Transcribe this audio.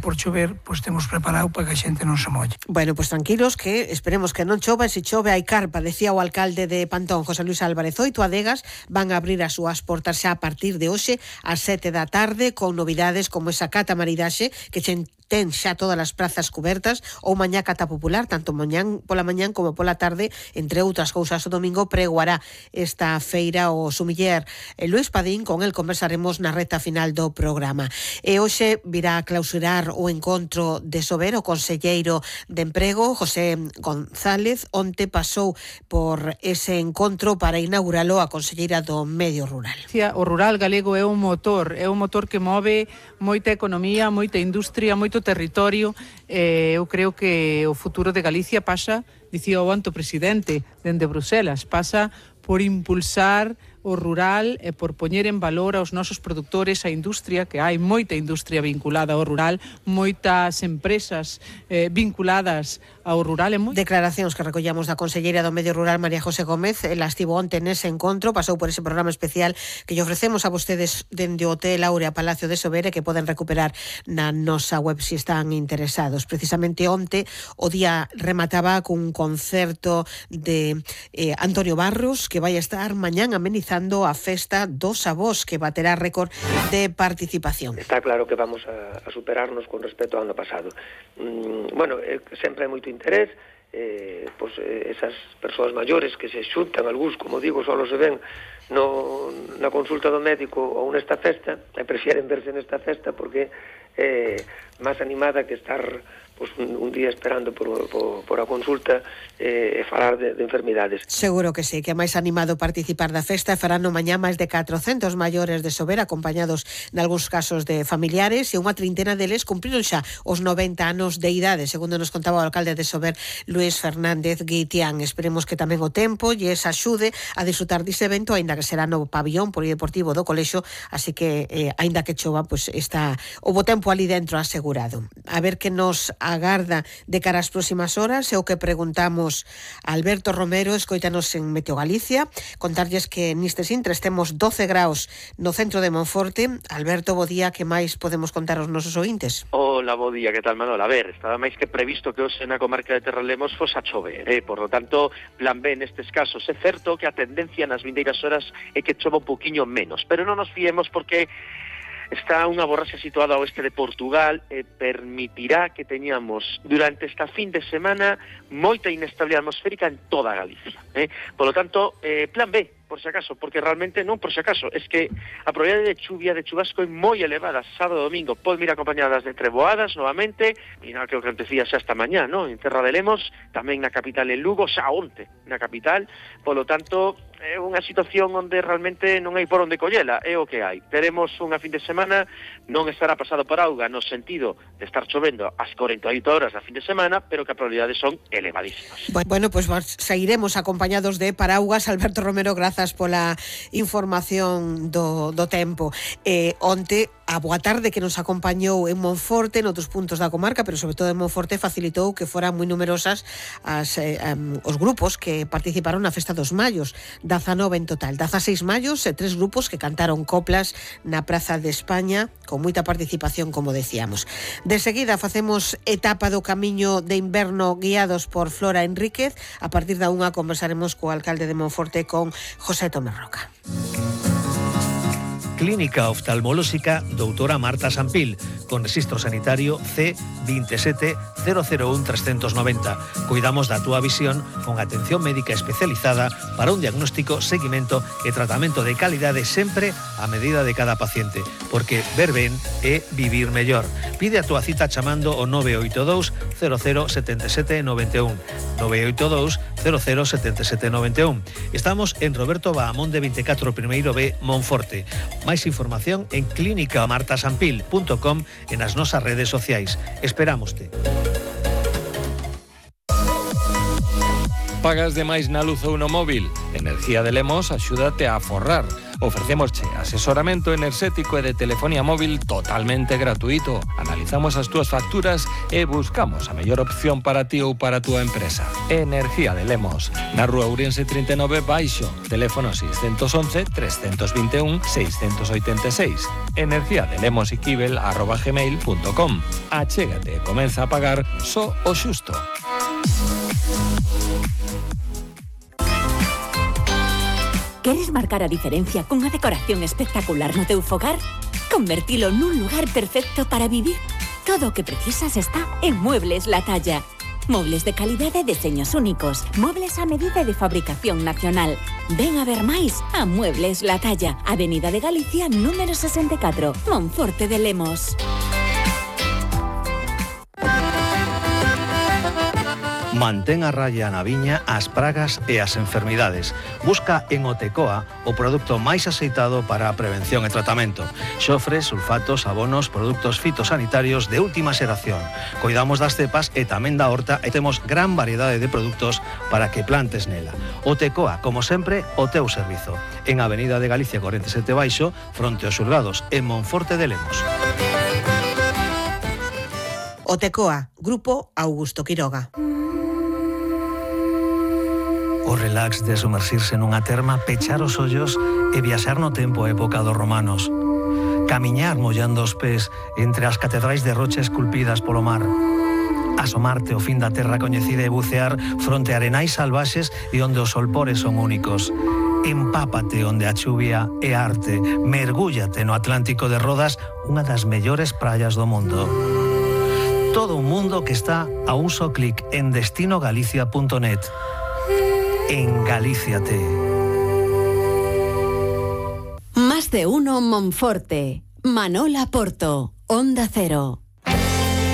por chover, pois temos preparado para que a xente non se molle. Bueno, pois tranquilos, que esperemos que non chova, e se chove hai carpa, decía o alcalde de Pantón, José Luis Álvarez. 8 adegas van a abrir as súas portas xa a partir de hoxe ás 7 da tarde, con novidades como esa cata maridaxe, que ten xa todas as prazas cubertas, ou mañá cata popular, tanto pola mañán como pola tarde, entre outras cousas. O domingo pregoará esta feira o sumiller Luís Padín, con el conversaremos na reta final do programa. E hoxe virá a clausurar o encontro de Sober o conselleiro de Emprego, José González. Onte pasou por ese encontro para inauguralo a conselleira do Medio Rural. O rural galego é un motor que move moita economía, moita industria, moito territorio. Eu creo que o futuro de Galicia pasa, dicía o anto presidente dende Bruselas, pasa por impulsar o rural e por poñer en valor aos nosos produtores, a industria, que hai moita industria vinculada ao rural, moitas empresas vinculadas ao rural. Declaracións que recollamos da conselleira do Medio Rural, María José Gómez. Ela estivo onte nese encontro, pasou por ese programa especial que lle ofrecemos a vostedes dende o Hotel Áurea Palacio de Sobera, que poden recuperar na nosa web se están interesados. Precisamente onte o día remataba cun concerto de Antonio Barros, que vai estar mañán amenizando a festa dos avós, que baterá récord de participación. Está claro que vamos a superarnos con respecto ao ano pasado. Bueno, sempre hai moito interés, esas persoas maiores que se xuntan, algúns, como digo, só se ven na consulta do médico ou nesta festa, e prefieren verse nesta festa porque é máis animada que estar un día esperando por a consulta e falar de enfermidades. Seguro que sí, que é máis animado participar da festa. Farán no mañá máis de 400 maiores de Sober, acompañados nalgúns casos de familiares, e unha trintena deles cumpriron xa os 90 anos de idade, segundo nos contaba o alcalde de Sober, Luís Fernández Guitián. Esperemos que tamén o tempo lles axude a disfrutar dese evento, aínda que será no pabillón polideportivo do colexio, así que aínda que chova, está o bo tempo ali dentro asegurado. A ver que nos agarda de cara ás próximas horas é o que preguntamos a Alberto Romero, escoítanos en Meteo Galicia. Contarlles que nestes intres temos 12 graus no centro de Monforte. Alberto, bo día, que máis podemos contar aos nosos ointes? Hola, bo día, que tal, Manuel? A ver, estaba máis que previsto que hoxe na comarca de Terralemos fos a chover, por lo tanto, plan B nestes casos. É certo que a tendencia nas vindeiras horas é que chova un poquinho menos, pero non nos fiemos porque está unha borrasca situada ao oeste de Portugal e permitirá que teñamos durante esta fin de semana moita inestabilidade atmosférica en toda Galicia. Por lo tanto, plan B, por si acaso, porque realmente non por si acaso, es que a probabilidade de chuvia, de chubasco é moi elevada sábado e domingo. Pode vir acompañadas de treboadas novamente, e non que o que acontecía xa esta mañá, ¿no? En Terra de Lemos, tamén na capital en Lugo, xa onte na capital. Por lo tanto, é unha situación onde realmente non hai por onde collela, é o que hai. Teremos unha fin de semana, non estará pasado por auga no sentido de estar chovendo as 48 horas da fin de semana, pero que a probabilidades son elevadísimas. Bueno, pues seguiremos acompañados de paraugas. Alberto Romero, grazas pola información do tempo. Onte, a boa tarde que nos acompañou en Monforte, noutros puntos da comarca, pero sobre todo en Monforte, facilitou que foran moi numerosas os grupos que participaron na Festa dos Mallos, 19 en total, 16 mallos e 3 grupos que cantaron coplas na Praza de España, con moita participación, como decíamos. De seguida facemos etapa do camiño de inverno guiados por Flora Enríquez. A partir da 1 conversaremos co alcalde de Monforte, con José Tomé Roca. Clínica Oftalmolóxica doutora Marta Sampil, con rexistro sanitario C27001-390. Cuidamos da túa visión con atención médica especializada para un diagnóstico, seguimento e tratamento de calidade sempre a medida de cada paciente, porque ver ben é vivir mellor. Pide a túa cita chamando o 982 007791, 982 007791. Estamos en Roberto Bahamonde 24, primeiro B, Monforte. Máis información en clínicamartasampil.com e nas nosas redes sociais. Esperámoste. Pagas de máis na luz ou no móvil? Energía de Lemos axúdate a aforrar. Ofrecémosche asesoramento enerxético e de telefonía móvil totalmente gratuito. Analizamos analizamos as túas facturas e buscamos a mellor opción para ti ou para a túa empresa. Energía de Lemos, na Rúa Ourense 39 baixo, teléfono 611 321 686, energiadelemosiquibel@gmail.com. Achégate e comeza a pagar só o xusto. Queres marcar a diferencia cunha decoración espectacular no teu fogar? Convertilo nun lugar perfecto para vivir. Todo o que precisas está en Muebles La Talla. Mobles de calidade e deseños únicos. Mobles a medida de fabricación nacional. Ven a ver máis a Muebles La Talla. Avenida de Galicia, número 64, Monforte de Lemos. Mantén a raya na viña as pragas e as enfermidades. Busca en Otecoa o produto máis aceitado para a prevención e tratamento. Xofre, sulfatos, abonos, produtos fitosanitarios de última xeración. Cuidamos das cepas e tamén da horta e temos gran variedade de produtos para que plantes nela. Otecoa, como sempre, o teu servizo. En Avenida de Galicia 47 baixo, fronte aos xulgados, en Monforte de Lemos. Otecoa, Grupo Augusto Quiroga. O relax de sumersirse nunha terma, pechar os ollos e viaxar no tempo a época dos romanos. Camiñar mollando os pés entre as catedrais de rocha esculpidas polo mar. Asomarte ao fin da terra coñecida e bucear fronte a arenais salvaxes e onde os solpores son únicos. Empápate onde a chuvia é arte. Mergúllate no Atlántico de Rodas, unha das mellores praias do mundo. Todo un mundo que está a un só clic en destinogalicia.net. Engalíciate. Más de uno Monforte. Manola Porto, Onda Cero.